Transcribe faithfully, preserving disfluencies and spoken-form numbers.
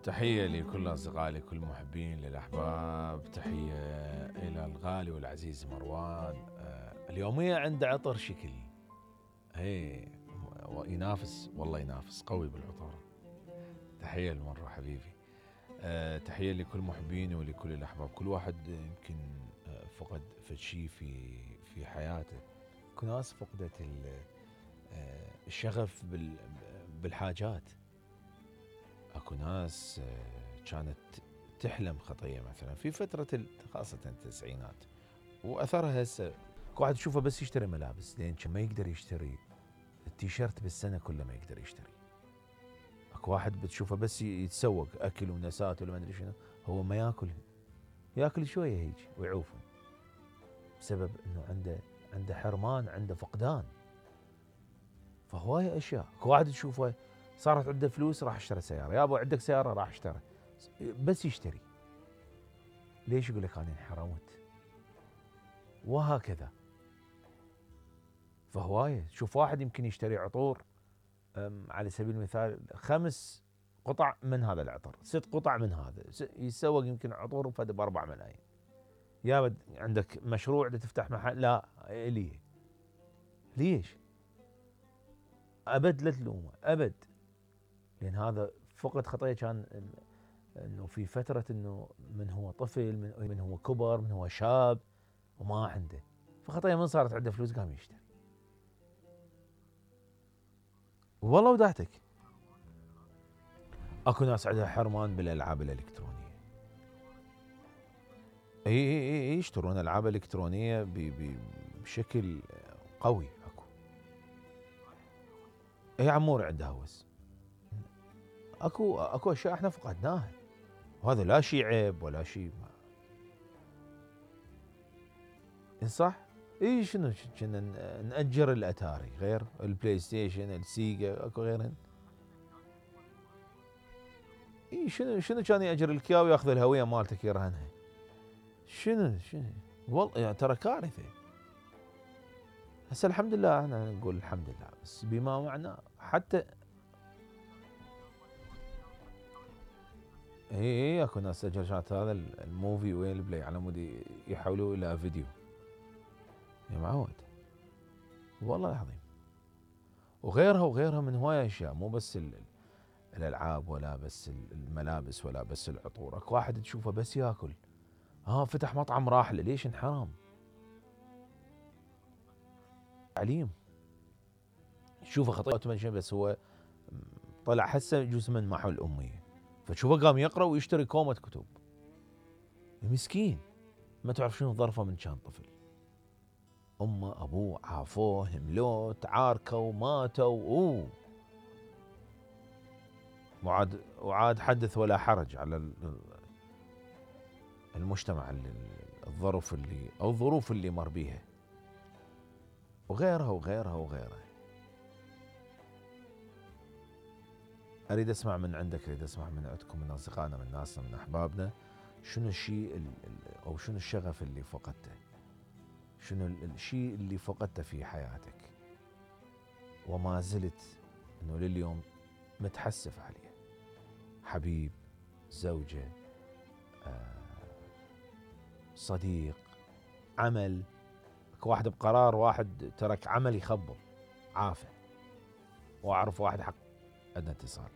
تحية لكل أصدقائي لكل محبين للأحباب. تحية إلى الغالي والعزيز مروان. آه اليومية عنده عطر شكل هي ينافس، والله ينافس قوي بالعطور. تحية لمرو حبيبي. آه تحية لكل محبيني ولكل الأحباب. كل واحد يمكن آه فقد فد شيء في في حياته. اكو ناس فقدت آه الشغف بالحاجات. اكو ناس كانت تحلم خطيه مثلا في فتره خاصه التسعينات واثرها هسه. اكو واحد تشوفه بس يشتري ملابس لين ما يقدر يشتري التيشيرت بالسنه كله ما يقدر يشتري. اكو واحد بتشوفه بس يتسوق اكل ونسات ولا ما ادري شنو، هو ما ياكل ياكل شويه هيك ويعوفه بسبب انه عنده عنده حرمان، عنده فقدان. فهوايه اشياء. اكو واحد تشوفه صارت عنده فلوس راح اشترى سياره، يا ابو عندك سياره راح اشترى، بس يشتري. ليش؟ يقول لك انا انحرمت. وهكذا. فهوايه شوف واحد يمكن يشتري عطور على سبيل المثال خمس قطع من هذا العطر، ست قطع من هذا، يتسوق يمكن عطور فد باربع ملايين. يا عندك مشروع تفتح محل، لا ليه؟ ليش؟ ابد لا تلومه ابد، لان هذا فقد خطيه. كان انه في فتره انه من هو طفل، من, من هو كبر، من هو شاب وما عنده، فخطيه من صارت عنده فلوس قام يشتري. والله ودعتك. اكو ناس عندها حرمان بالالعاب الالكترونيه. اي اي اي يشترون العاب الكترونيه بشكل قوي. اكو اي عمور عنده هوس. اكو اكو اشياء احنا فقدناها، وهذا لا شيء عيب ولا شيء ما. صح؟ اي شنو كنا نأجر الاتاري غير البلاي ستيشن السيجا اكو غيرهن. اي شنو شنو كان يأجر الكياو وياخذ الهويه مالتك يرهنها. شنو شنو والله يعني ترى كارثه. هسه الحمد لله احنا نقول الحمد لله، بس بما معناه حتى اي اي اكو ناس سجلت هذا الموفي وين البلاي على مود يحولوه الى فيديو. يا معود والله العظيم. وغيرها وغيرها من هوايه اشياء، مو بس الالعاب ولا بس الملابس ولا بس العطور. اكو واحد تشوفه بس ياكل، ها فتح مطعم راح له، ليش؟ انحرام. تعليم تشوفه خطيئة بس هو طلع هسه يجوز من محو الاميه، فتشوفه قام يقرا ويشتري كومه كتب. مسكين ما تعرف شنو ظرفه من كان طفل. امه ابوه عافوه هملوه تعاركوا ماتوا اوه وعاد وعاد حدث ولا حرج على المجتمع اللي الظروف اللي او الظروف اللي مر بيها وغيرها وغيرها وغيرها. اريد اسمع من عندك، اريد اسمع من عندكم، من اصدقائنا، من ناسنا، من احبابنا، شنو الشيء او شنو الشغف اللي فقدته؟ شنو الشيء اللي فقدته في حياتك وما زلت انه لليوم متحسف عليه؟ حبيب، زوجة، صديق، عمل. اكو واحد بقرار واحد ترك عمل يخبر عافه. واعرف واحد حق عندنا اتصال.